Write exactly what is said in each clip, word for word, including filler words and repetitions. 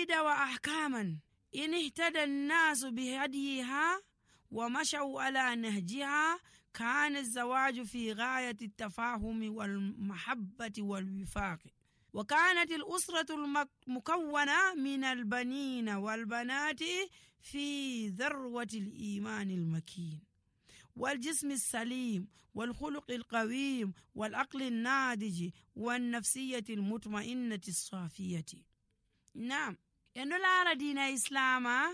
قواعد وأحكاما إن اهتدى الناس بهديها ومشوا على نهجها كان الزواج في غاية التفاهم والمحبة والوفاق. وكانت الأسرة المكونة من البنين والبنات في ذروة الإيمان المكين والجسم السليم والخلق القويم والعقل الناضج والنفسية المطمئنة الصافية. نعم، endo laara diina islama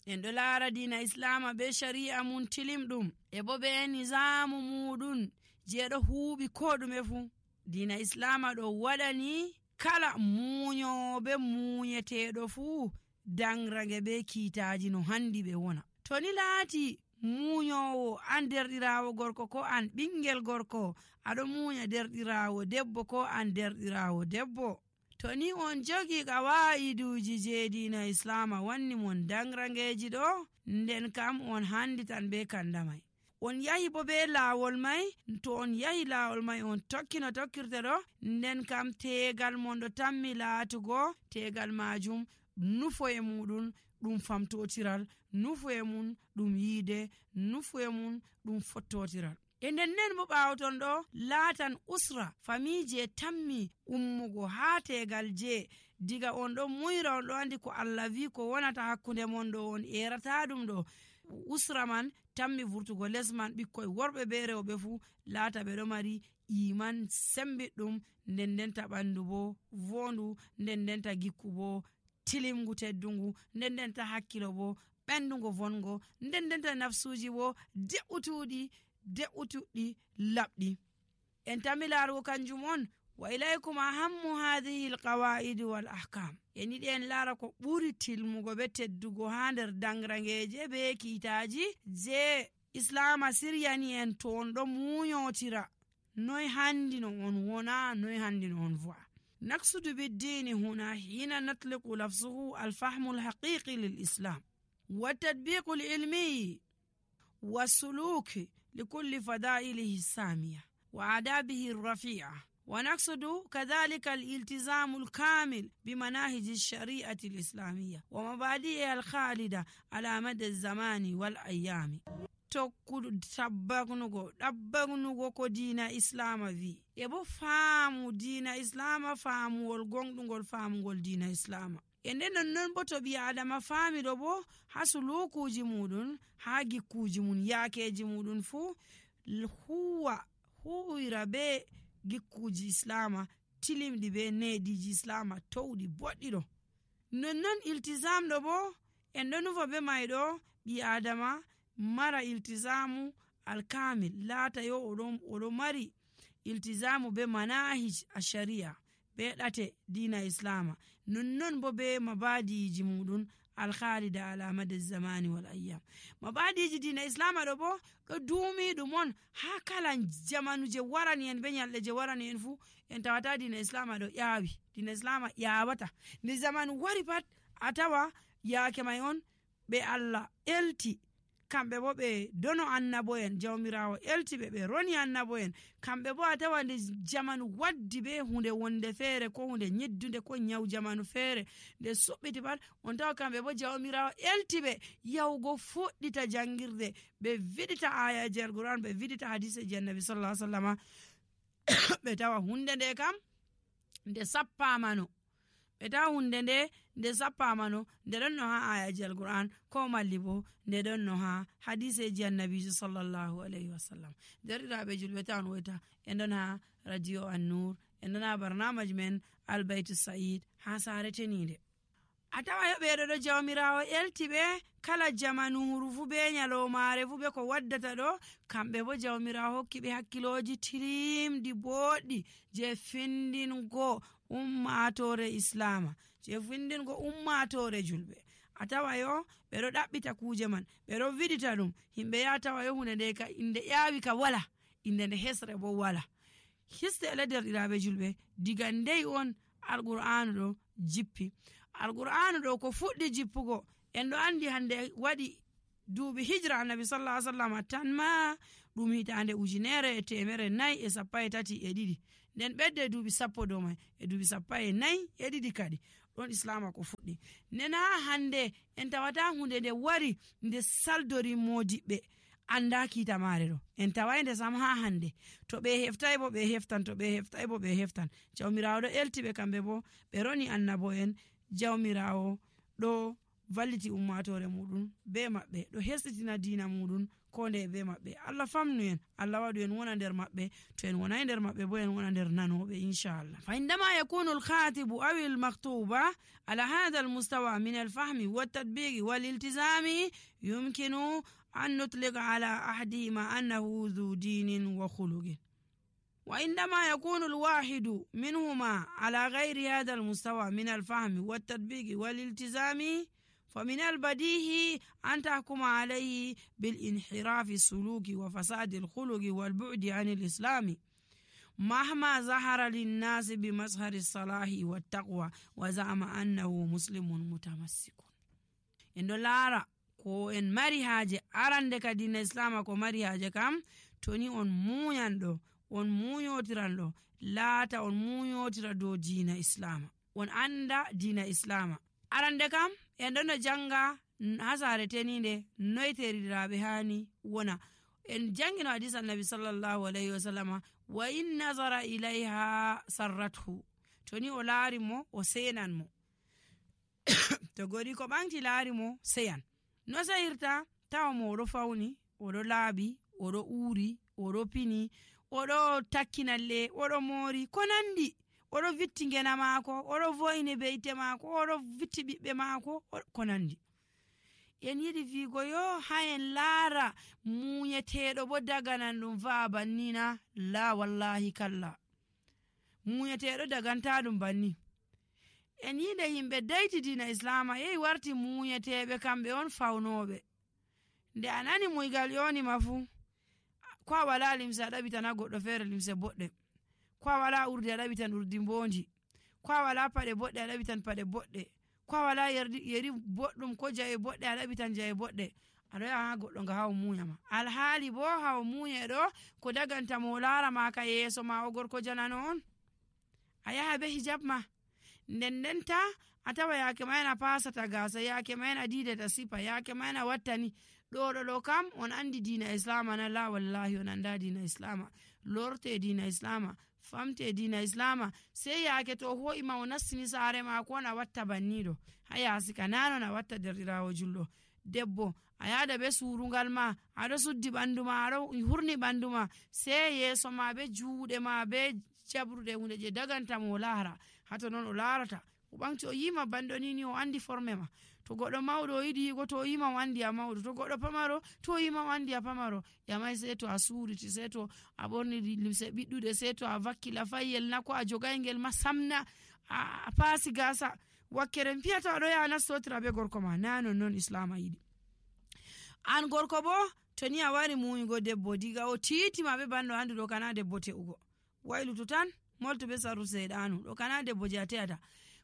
endo laara diina islama be shari'a mun tilimɗum e bo be nizamu muɗum jeeɗo huuɓi ko ɗume fu. diina islama ɗo waɗani kala muñoɓe muñeteɗo fu dangrage be kiitaji no handi ɓe wona. to ni laati muñowo an derɗirawo gorko ko an ɓingel gorko aɗo muña derɗirawo debbo ko an derɗirawo debbo, to ni on jogi qawaiduji je diina islama wanni mon dangrangeji ɗo, nden kam on handitan be kandamai. on yahi bo be laawol mai, to on yahi laawol mai on tokki no tokkirte ɗo, nden kam tegal mon ɗo tammi laatugo tegal majum nufo e muɗum ɗum famtotiral, nufo e mum ɗum yiide, nufo e mum ɗum fottotiral. e nden nden bo ɓawoton ɗo laatan usra famije tammi ummugo ha tegal je diga on ɗo muyra on ɗo andi ko Allah wi ko wonata hakkunde mon ɗo on erata ɗum ɗo. usra man tammi vurtugo les man ɓikkoy worɓe be rewɓe fu laata ɓe ɗo mari iman sembiɗɗum, nden ndenta ɓandu bo vondu, nden ndenta gikku bo tilimgu teddungu, nden ndenta hakkilo bo ɓendugo vongo, nden ndenta nafsuji bo de'utuɗi de'utuɗi labɗi. en tammi laarugo kanjum on wa ilaykum ahammu hadhihi alqawaid wal ahkam. en yiɗi en laara ko ɓuri tilmugo be teddugo ha nder dangrangeje be kiitaji je islama siryani en to on ɗo muñotira noy handi no on wona, noy handi no on vo'a. نقصد بالدين هنا حين نطلق لفظه الفهم الحقيقي للإسلام والتطبيق العلمي والسلوك لكل فضائله السامية وآدابه الرفيعة، ونقصد كذلك الالتزام الكامل بمناهج الشريعة الإسلامية ومبادئها الخالدة على مدى الزمان والأيام. tokkudu tabbagnugo ɗabbagnugo ko diina islama wi e bo faamu diina islama faamuwol gonɗugol faamugol diina islama. e nden nonnon bo to ɓi adama faamiɗo bo ha sulukuji muɗum, ha gikkuji mum, yaakeji muɗum fu huwa huwira be gikkuji islama tilimɗi be neediji islama towɗi boɗɗi ɗo. nonnon iltisamɗo bo en ɗo nufa be mayɗo ɓi adama mara iltizamu alkamil, laata yo oɗon oɗo mari iltizamu be manahij ashariya be ɗate dina islama, nonnon bo be mabadiji muɗum alkhalida ala mada zamani wal ayyam. mabadiji dina islama ɗo bo ɗo duumi ɗum on ha kala jamanu je warani en be nyalɗe je warani en fu en tawata dina islama ɗo ƴaawi. dina islama ƴaawata nde zamanu wari pat a tawa yaake may on ɓe Allah elti, kamɓe bo ɓe dono annabo'en, jawmirawo eltiɓe ɓe roni annabo'en. kamɓe bo a tawa nde jamanu waddi be hunde wonde feere ko hunde nyeddunde ko nyaw jamanu feere nde suɓɓiti pat on tawa kamɓe bo jawmirawo eltiɓe yawgo fuɗɗita jangirde, ɓe vidita ayaji alquran, ɓe vidita hadiseji annabi sallallahu alaihi wasallam. ɓe tawa hunde nde kam nde sappamano ɓe tawa hunde nde nde sappamano nde ɗon no ha ayaji alquran ko malli bo nde ɗon no ha hadiseji annabiji sallallahu alaihi wasallam. derɗiraɓe julɓe tawan woyta en ɗon ha radio an-nur, en ɗon ha barnamaji men albaytu sa'id ha sare tenide. a tawa yoɓeɗo ɗo jawmirawo eltiɓe kala jamanuru fu be nyalomare fu be ko waddata ɗo, kamɓe bo jawmirawo hokkiɓe hakkiloji tilimɗi boɗɗi je findingo ummatore islama, je findingo ummatore julɓe. a tawa yo ɓeɗo ɗaɓɓita kuje man, ɓeɗo vidita ɗum, himɓe ya tawa yo hunde nde ka inde ƴaawi ka wala, inde nde hesre bo wala. histe ele derɗiraɓe julɓe diga ndey on alqur'anu ɗo jippi. alqur'anu ɗo ko fuɗɗi jippugo en ɗo andi hande waɗi duuɓi hijra annabi sallallahu alaihi wasallam tan ma ɗum hitande ujunere e temere nayi e sappo e tati e ɗiɗi, nden ɓedde duuɓi sappo dow mai e duuɓi sappo e nayi e ɗiɗi kadi. ɗon islama ko fuɗɗi. Nden ha hande en tawata hunde nde wari nde saldori modiɓɓe anda kiita mare ɗo, en tawai nde sam ha hande. To ɓe heftai bo ɓe heftan, to ɓe heftai bo ɓe heftan. Jawmirawo ɗo elti ɓe kamɓe bo ɓe roni annabo en. Jawmirawo ɗo valliti ummatore muɗum be maɓɓe, ɗo hesɗitina dina muɗum ko nde be maɓɓe. Allah famnu en, Allah waɗu en wona nder maɓɓe, to en wonai nder maɓɓe bo en wona nder nanoɓe inchallah. Fa indama yakunu al-khatibu aw al-maktuba ala hadha al-mustawa min al-fahmi wat-tadbiqi wal-iltizami yumkinu an nutliqa ala ahadihima annahu dhu dinin wa khuluqin. وعندما يكون الواحد منهما على غير هذا المستوى من الفهم والتطبيق والالتزام فمن البديهي أن تحكم عليه بالانحراف السلوكي وفساد الخلق والبعد عن الإسلام مهما ظهر للناس بمظهر الصلاح والتقوى وزعم أنه مسلم متمسك. إن لارا ko en mari haaje arande ka dina islama ko mari haaje kam toni on muyanɗo on muyotiranɗo laata on muyotira dow dina islama, on anda dina islama. Arande kam en ɗon no janga ha sare teninde noyteriraɓe hani wona. En jangino hadis annabi sallallahu alayhi wa sallama wa in nazara ilayha sarrathu, toni o laari mo o senan mo to gori ko ɓanti laari mo seyan. No sayirta tawa mo oɗo fawni, oɗo laaɓi, oɗo uuri, oɗo pini, oɗo takkinalle, oɗo moori ko nandi, oɗo vitti ngena maako, oɗo voyni beyte maako, oɗo vitti ɓiɓɓe maako ko nandi. En yiɗi fiigo yo ha en laara muyeteɗo bo daganan ɗum va'a bannina, la wallahi kalla, muyeteɗo daganta ɗum banni. En yiide yimɓe dayti dina islama yehi warti muyeteɓe kamɓe on fawnoɓe. Nde a nani muygal yonima fu, ko a wala limse a ɗaɓitan ha goɗɗo feere limse boɗɗe, ko a wala urdi a ɗaɓitan urdi mbondi, ko a wala paɗe boɗɗe a ɗaɓitan paɗe boɗɗe, ko a wala yeri boɗɗum ko jawe boɗɗe a ɗaɓitan jawe boɗɗe. Aɗo yaha ha goɗɗo nga ha o muyama, alhaali bo ha o muye ɗo ko daganta mo laara ma ka yeeso ma o gorko janano on. A yaha be hijab ma, nden ndenta a tawa yake mayen a pasata gasa, yake mayen a didata sipa, yake mayen a wattani. ɗo ɗo ɗo kam on andi dina islama na? La wallahi on anda dina islama. Lorte dina islama, famte dina islama, sey yake to ho'ima o nastini saare mako on a watta banniɗo. Ha yasi ka nanon a watta derɗirawo julɗo debbo, a yada be surungal ma, aɗo suddi ɓandu ma, aɗo hurni ɓandu ma, sey yeeso ma be juuɗe ma be jabrude hunde je daganta mo laara. Hato non o laarata o ɓanti o yima banɗo nini o andi forme ma. To goɗɗo mawɗo o yiɗi yigo to o yima o andi a mawɗo, to goɗɗo pamaro to o yima o andi a pamaro. Yamai sey to a suuriti, sey to a ɓorni limse ɓiɗɗuɗe, sey to a vakki lafayyel na ko a jogaygel ma samna, a paasi gasa wakkere piyata aɗo yaha nastotira be gorko ma. Na non non islama yiɗi. An gorko bo to ni a wari muyugo debbo diga o titima be banɗo andi ɗo kana debbo te'ugo, waylutu tan molto be saru seɗanu, ɗo kana debbo je a te'ata.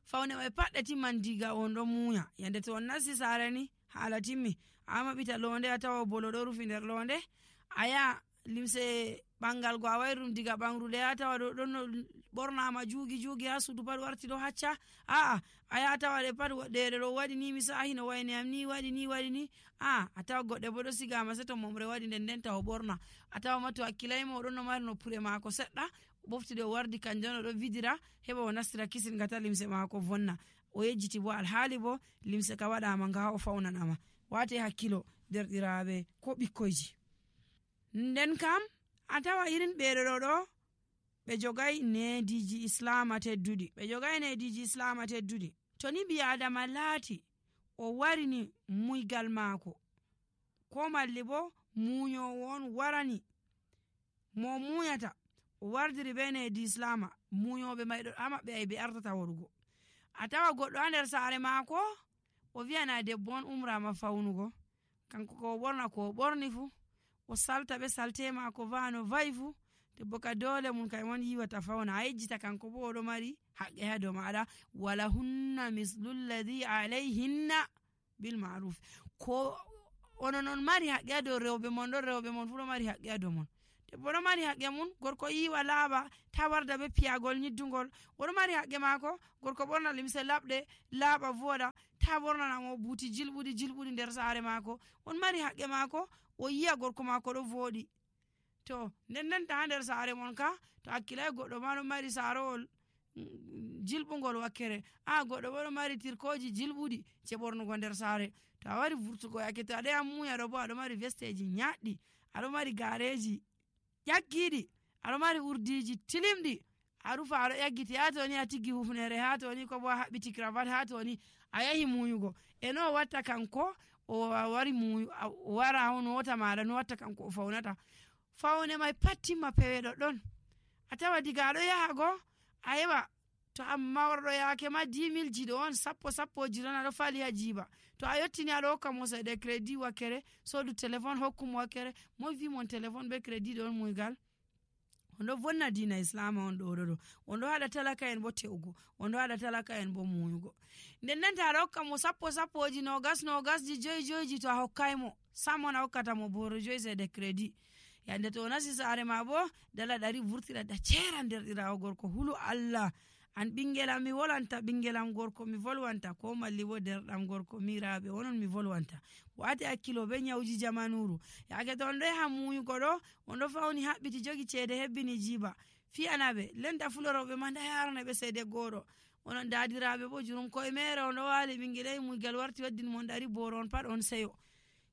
Fawne mai paɗɗe timman diga on ɗo muya. Yande to on nasti sare ni haala timmi, a maɓɓita londe a tawa bolo ɗo rufi nder londe, a yaha limse ɓangal go a wayrum diga ɓangrude a tawa ɗo ɗon ɓornama juugi juugi ha suudu pat warti ɗo hacca. Aa a yaha tawa ɗe pat ɗeɗe ɗo waɗi ni mi sahi no wayni am ni waɗi ni waɗi ni. A a tawa goɗɗe bo ɗo sigama sei to momre waɗi nden nden ta o ɓorna. A tawa ma to hakkilayma oɗon no mari noppure mako seɗɗa, ɓoftude o wardi kanjon o ɗo vidira heɓa o nastira kisin gata limse mako vonna. O yejjiti bo alhaali bo limse ka waɗama nga ha o fawnanama. Wate hakkilo derɗiraɓe ko ɓikkoyji. Nden kam a tawa irin ɓeɗo ɗo ɗo ɓe jogai nediji islama tedduɗi, ɓe jogai nediji islama tedduɗi. To ni ɓi adama laati o warini muygal mako, ko malli bo muyowo on warani mo muyata o wardiri be nedi islama, muyoɓe may ɗo ha maɓɓe ay ɓe artata warugo. A tawa goɗɗo ha nder saare mako o wiyana debbo on umrama fawnugo, kanko ko o ɓorna ko o ɓorni fu, o salta be salte mako vano vayi fu, debbo ka dole mun kay mon yiwata fawna. A yejjita kanko bo oɗo mari haqqe ha dow maɗa, wala hunna mislu lladi alayhinna bil ma'ruf. Ko onon on mari haqqe ha dow rewɓe mon ɗon, rewɓe mon fu ɗo mari haqqe ha dow mon. debbo ɗo mari haqqe mum, gorko yiwa laaɓa ta warda be piyagol nyiddugol. Oɗo mari haqqe maako, gorko ɓorna limse laɓɗe laaɓa voɗa ta ɓornanamo buuti jilɓuɗi jilɓuɗi nder saare maako. On mari haqqe maako, o yi'a gorko maako ɗo voɗi. To nden ndenta ha nder saare mon ka to hakkilai goɗɗo ma ɗo mari saarowol jilɓugol wakkere, a goɗɗo bo ɗo mari tirkoji jilɓuɗi je ɓornugo nder saare. To a wari vurtugo yake to aɗo yaha muya ɗo bo aɗo mari vesteji nyaɗɗi, aɗo mari gareji ƴaggiɗi, aɗo mari urdiji tilimɗi, a rufa aɗo ƴaggiti, ha toni a tiggi hufnere, ha toni ko bo a haɓɓiti cravat, ha toni a yahi muyugo. E no o watta kanko o wari muyu o wara on wota maɗa no watta kanko o faunata. Faune mai pat timma peweɗo ɗon. A tawa diga aɗo yaha go a yeɓa to amma worɗo yake ma dimil jiɗo on sappo sappo jiɗon aɗo fali ha jiba. To a yottini aɗo hokka mo seɗe crédit wakkere sodu téléphone hokkumo wakkere, mo vi mon téléphone be crédit ɗon muygal. On ɗo vonna dina islama on ɗo ɗo on ɗo haɗa talaka en bo te'ugo, on ɗo haɗa talaka en bo muyugo. Nden nanta aɗa hokka mo sappo sappoji nogas nogasji joyi joyiji, to a hokkai mo sam on a hokkata mo boro joyi seɗe crédit. Yande to o nasi saare ma bo dala ɗari vurtira da cera nder ɗirawo gorko hulu Allah. An ɓingelam mi volwanta ɓingelam gorko mi volwanta, ko malli bo derɗam gorko miraɓe onon mi volwanta. Wati hakkilo be nyawji jamanuru. Yake to on ɗo yaha muyugo ɗo on ɗo fauni haɓɓiti jogi ceede hebbini jiba, fiyanaɓe lenta fuloroɓe ma nda yarana ɓe seede goɗo. Onon dadiraɓe bo jurum koye mere on ɗo wali ɓingel muygal warti waddin mon ɗari boro on pat on seyo.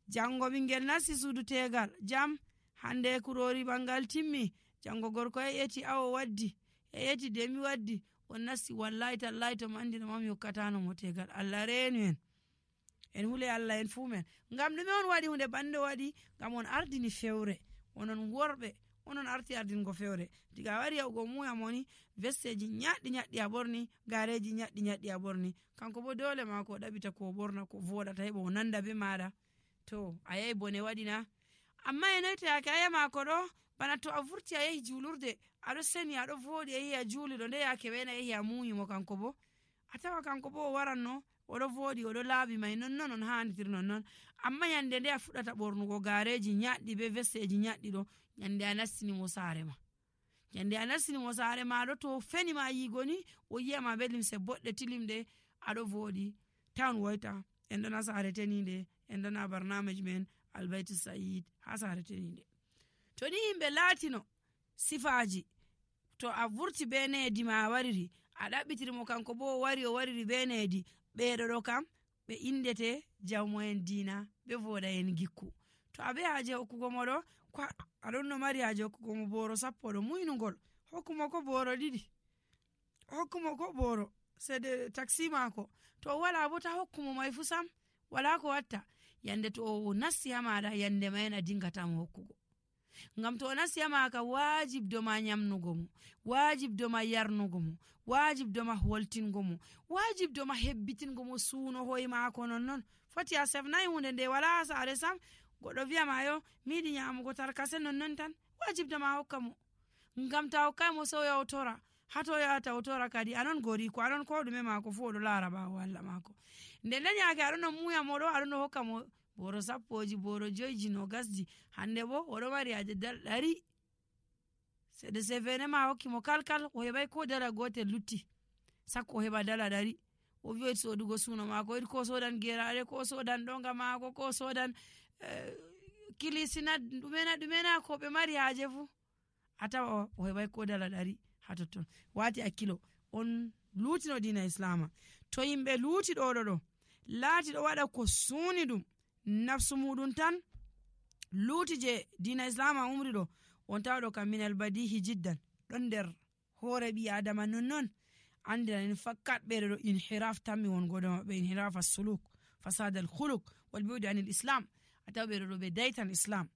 Jango ɓingel nasti suudu tegal jam hande kurori ɓangal timmi, jango gorko e eti awo waddi e eti demi waddi, on nasti wallahi tallahi to mi andi no mami hokkatano mo tegal. Allah reenu en en hule Allah en fu men. Ngam ɗume on waɗi hunde bande waɗi? Ngam on ardini fewre, onon worɓe onon arti ardingo fewre. Diga wari yahugo muya moni vesteji nyaɗɗi nyaɗɗi a ɓorni, gareji nyaɗɗi nyaɗɗi a ɓorni, kanko bo dole mako o ɗaɓita ko ɓorna ko voɗata heɓa o nanda be maɗa. To a yahi bone waɗina. Amma e noy to yake aya mako ɗo bana to a vurti a yahi julurde aɗo seni aɗo voɗi a yahi a juuliɗo nde yake wena yahi a muyimo kanko bo a tawa kanko bo o waranno oɗo voɗi oɗo laaɓi mai nonnon on handitir nonnon. Amma yande nde a fuɗɗata ɓornugo gareji nyaɗɗi be vesteji nyaɗɗi ɗo, yande a nastinimo saare ma yande a nastinimo saare ma ɗo to feni ma yigo ni o yiyama be limse boɗɗe tilimɗe aɗo voɗi tan woyta en ɗona saare teninde en ɗona barnamej men albayti sayid ha saare teninde. To ni yimɓe laatino sifaji to a vurti be needi ma a wariri a ɗaɓɓitirimo kanko bo o wari o wariri be needi, ɓeɗo ɗo kam ɓe indete jawmo en dina ɓe voɗa en gikku. To a be haje hokkugo mo ɗo ko aɗon no mari haje hokkugo mo boro sappo ɗo muynugol, hokkumo ko boro ɗiɗi, hokkumo ko boro seede taxi mako. To o wala bo ta hokkumo mai fu sam, wala ko watta. Yande to o nasti ha maɗa yande ma en a dingatamo hokkugo. Ngam to o nasti ha maka wajib doma nyamnugo mo, wajib doma yarnugo mo, wajib doma holtingo mo, wajib doma hebbitingo mo suuno hoye mako nonnon. Foti a sefnai hunde nde wala ha saare sam, goɗɗo wiyama yo miɗi nyamugo tarkase nonnon tan, wajib doma hokka mo. Ngam ta hokkai mo so yaw tora, hato yata o tora kadi anon gori ko anon ko ɗume mako fu oɗo laara ɓawo Allah mako. Nde nden yake aɗon no muya mo ɗo aɗon no hokka mo boro sappoji boro joyji no gasji, hande bo oɗo mari haje dal ɗari seɗe sefene ma hokki mo kalkal o heɓai ko dala gotel lutti sakko o heɓa dala ɗari. O wi sodugo suno mako yiɗi ko sodan geraɗe ko sodan ɗonga mako ko sodan eh, kilisina ɗumena ɗumena ko ɓe mari haje fu a tawa o heɓai ko dala ɗari ha totton. Wati hakkilo on lutino dina islama. To yimɓe luti ɗo ɗo ɗo laati ɗo waɗa ko suni ɗum nafsu muɗum tan luuti je dina islama umri ɗo, on tawaɗo kam minal badihi jiddan ɗon nder hoore ɓi adama nonnon andiranin fakkat ɓeɗe ɗo inhiraf tammi wongoɗo maɓɓe, inhiraf as-suluk fasad al-khuluq wal bu'd anil islam. A tawa ɓeɗo ɗo ɓe daytan islam,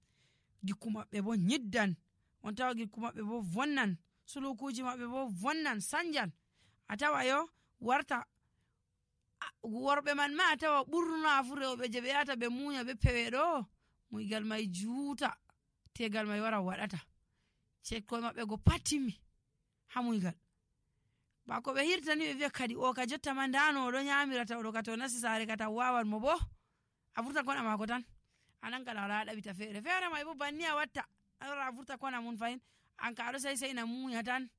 gikku maɓɓe bo nyiddan, on tawa gikku maɓɓe bo vonnan, sulukuji maɓɓe bo vonnan sanjan. A tawa yo warta worɓe man ma a tawa ɓurna fu rewɓe je ɓe yata ɓe munya ɓe pewe ɗo muygal mai juuta tegal mai wara waɗata cekkoye maɓɓe go pattimmi ha muygal. Ba ko ɓe hirtani ɓe wiya kadi o ka jotta ma ndano oɗo nyamirata oɗo ka to nasi saare ka taw wawan mo bo a furta koɗa mako tan anan kala wala ɗaɓita feere feere mai bo banni a watta alora vurta kona mun fayin an ka aɗo sai sai na muya tan.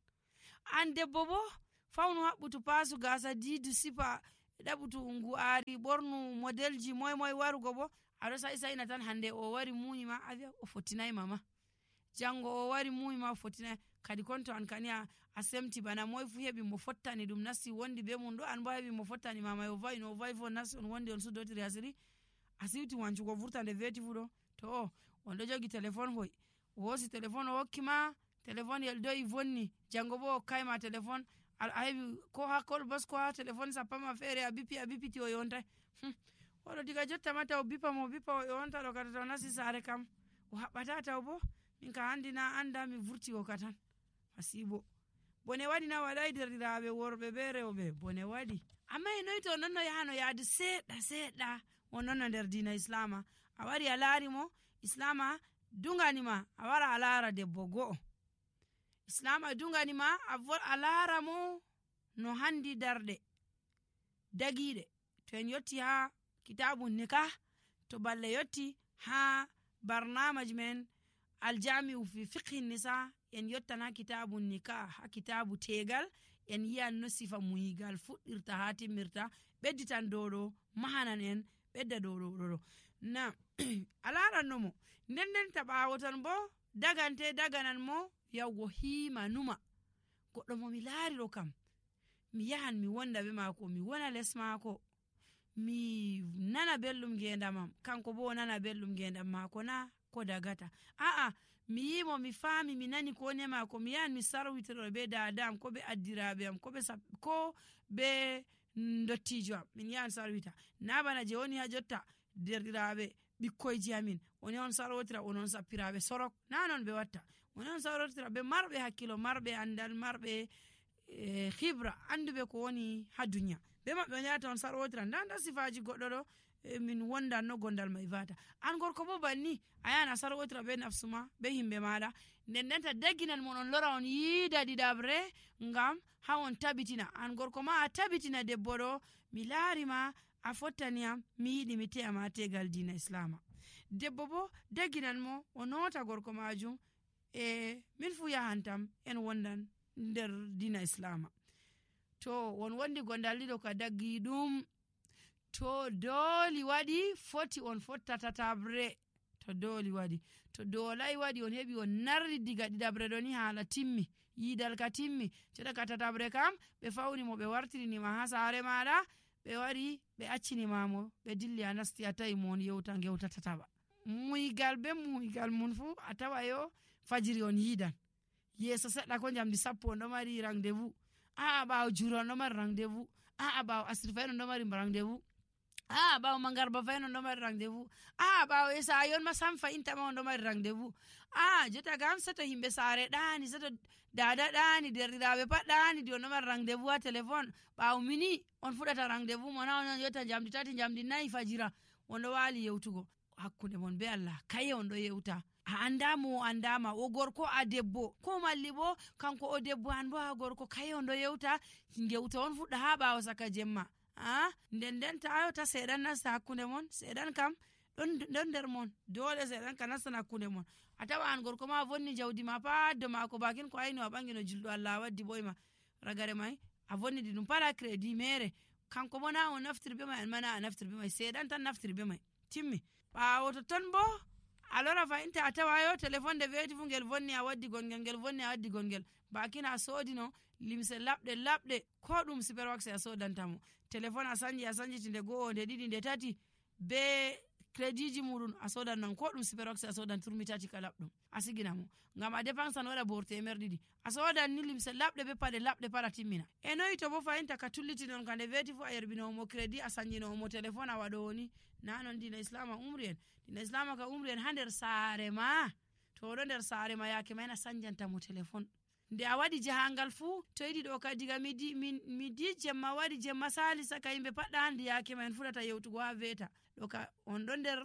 An debbo bo fawnu haɓɓutu paasu gasa diidu sifa ɗaɓutu ngu ari ɓornu modelji moy moy warugo bo aɗo sai sai na tan hande o wari muyi ma a wi'a o fottinayi mama, jango o wari muyi ma o fottinayi kadi konto an kani a, a semti bana moy fu heɓi mo fottani ɗum nasti wondi be mum ɗo, an bo heɓi mo fottani mama o vayi no o vayi fo nasti on wondi on sudotiri asiri a siwti wancugo vurta nde veti fu ɗo to o on ɗo jogi téléphone hoy o hosi téléphone o hokki ma téléphone yel do'i vonni jango bo hokkay ma téléphone a heɓi ko ha kol bos ko ha téléphone sappama feere a bippi a bippiti o yontay oɗo diga jotta ma taw bippa mo bippa o yonta ɗo kata taw nasti saare kam o haɓɓata taw bo min ka handi na anda mi vurti o ka tan hasibo bone waɗi na waɗai derɗiraɓe worɓe be rewɓe bone waɗi amma e noyi to nonno yahano yaade seeɗa seeɗa o nonno nder dina islama a wari a laari mo islama dunganima a wara a laara debbo go'o islama dunganima a laara mo no handi darɗe dagiɗe to en yotti ha kitabu nikah to balle yotti ha barnamaji men aljami'u fi fiqhi nisa en yottan ha kitabu nikah ha kitabu tegal en yiyan no sifa muyigal fuɗɗirta ha timmirta ɓedditan dow ɗo mahanan en ɓedda dow ɗo ɗo na a laranno mo nden nden ta ɓawo ton bo dagante daganan mo yawgo hiima numa goɗɗo mo mi laari ɗo kam mi yahan mi wonda be maako mi wona les maako mi nana belɗum ngendamam kanko bo o nana belɗum ngendam maako na ko dagata a'a mi yimo mi faami mi nani ko ne maako mi yahan mi sarwitoro be dadam ko be addiraɓe am ko be ko be ndottijo am min yahan sarwita na bana je woni ha jotta derɗiraɓe ɓikkoyji amin oni on sarwotira onon sappiraɓe sorok na non ɓe watta oni on sarwotira ɓe marɓe hakkilo marɓe andal marɓe e hibra anduɓe ko woni ha duniya be maɓɓe on yahata on sarwotira nda nda sifaji goɗɗo ɗo e min wondan no gondal mai vata an gorko bo banni a yahan a sarwotira be nafsuma be himɓe maɗa nden ndenta dagginan mon on lora on yiida ɗiɗaɓre ngam ha on tabitina an gorko ma a tabitina debbo ɗo mi laari ma a fottaniyam mi yiɗi mi te'ama tegal dina islama debbo bo dagginan mo o nota gorko majum e min fu yahantam en wondan nder dina islama to won wondi gondal ɗiɗo ka daggi ɗum to dooli waɗi foti on fotta tatabre to dooli waɗi to doolai waɗi on heɓi on narri diga ɗiɗabre ɗo ni haala timmi yiidal ka timmi ceɗa ka tatabre kam ɓe fawni mo ɓe wartirinima ha saare maɗa ɓe wari ɓe accinimamo ɓe dilli a nasti a tawi mo on yewta gewta tataɓa muygal be muygal mun fu a tawa yo fajiri on yiidan yeeso seɗɗa ko jamdi sappo on ɗo mari rendez-vous aa ɓawo juro on ɗo mari rendez-vous aa ɓawo asiri fayin on ɗo mari rendez-vous aa ɓawo mangarba fayin on ɗo mari rendez-vous aa ɓawo e sayon ma sam fayintama on ɗo mari rendez-vous aa jotta gam seto himɓe saare ɗani seto dada ɗani derɗiraɓe pat ɗani di on ɗo mari rendez-vous ha téléphone ɓawo mini on fuɗata rendez-vous mo na on yotta jamdi tati jamdi nayyi fajira on ɗo waali yewtugo hakkunde mon be Allah kaye on ɗo yewta a andama o andama o gorko a debbo ko malli bo kanko o debbo an bo a gorko kaye on ɗo yewta gewta on fuɗɗa ha ɓawo saka jemma a nden nden ta ta seeɗan nasta hakkunde mon seeɗan kam ɗon ɗon nder mon dole seeɗan ka nastan hakkunde mon a tawa an gorko ma vonni jawdi ma paddo mako bakin ko ayno a ɓangi no julɗo Allah waddi ɓoyma ragare mai a vonnidi ɗum pala crédit mere kanko bo na o naftiri be mai an mana a naftiri be mai seeɗan tan naftiri be mai timmi ɓawo to ton bo a lora fayinta a tawa yo téléphone de weeti fu ngel vonni a waddi gongel ngel vonni a waddi gongel bakin a soodino limse labɗe labɗe ko ɗum superwax a sodantamo téléphone a sanji a sanjiti nde go'o nde ɗiɗi nde tati be crédit ji muɗum a sodan non ko ɗum superwax a sodan turmi tati ka labɗum a siginamo ngam a dépensan waɗa bor temer ɗiɗi a sodan ni limse labɗe be paɗe labɗe para timmina e noyi to bo fayinta ka tullitinon ka nde weeti fu a yerbinowomo crédit a sanjinowomo téléphone a waɗowoni na non dina islama umri en dina islama ka umri en ha nder saare ma to oɗo nder saare ma yake mayna sanjantamo téléphone nde a waɗi jahangal fuu to yiɗi ɗo ka diga midi midi jemma waɗi jemma sali saka yimɓe paɗɗa handi yake ma en fuɗata yewtugo ha weeta ɗo ka on ɗo nder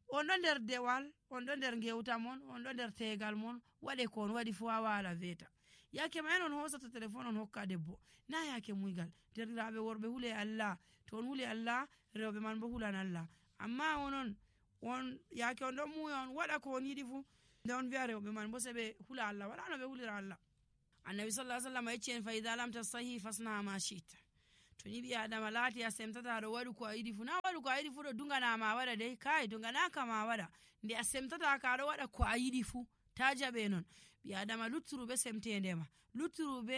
on ɗo nder dewal on ɗo nder gewta mon on ɗo nder tegal mon waɗe ko on waɗi fu ha wala weeta yake ma en on hosata téléphone on hokka debbo na yake muygal derɗiraɓe worɓe huule Allah to on huule Allah rewɓe man bo hulan Allah amma onon on yake on ɗon muya on waɗa ko on yiɗi fu nde on wi'a rewɓe man bo se ɓe hula Allah, wala no ɓe hulira Allah. Annabi sallallahu alaihi wasallam yecci en fa idha lam tastahi fasna ma shi'ta. To ni ɓi adama laati a semtata aɗo waɗu ko a yiɗi fu, na waɗu ko a yiɗi fu ɗo dunganama waɗa dai, kai dunganaka ma waɗa. Nde a semtata ka aɗo waɗa ko a yiɗi fu ta jaɓe non. Ɓi adama lutturu be semtende ma, lutturu be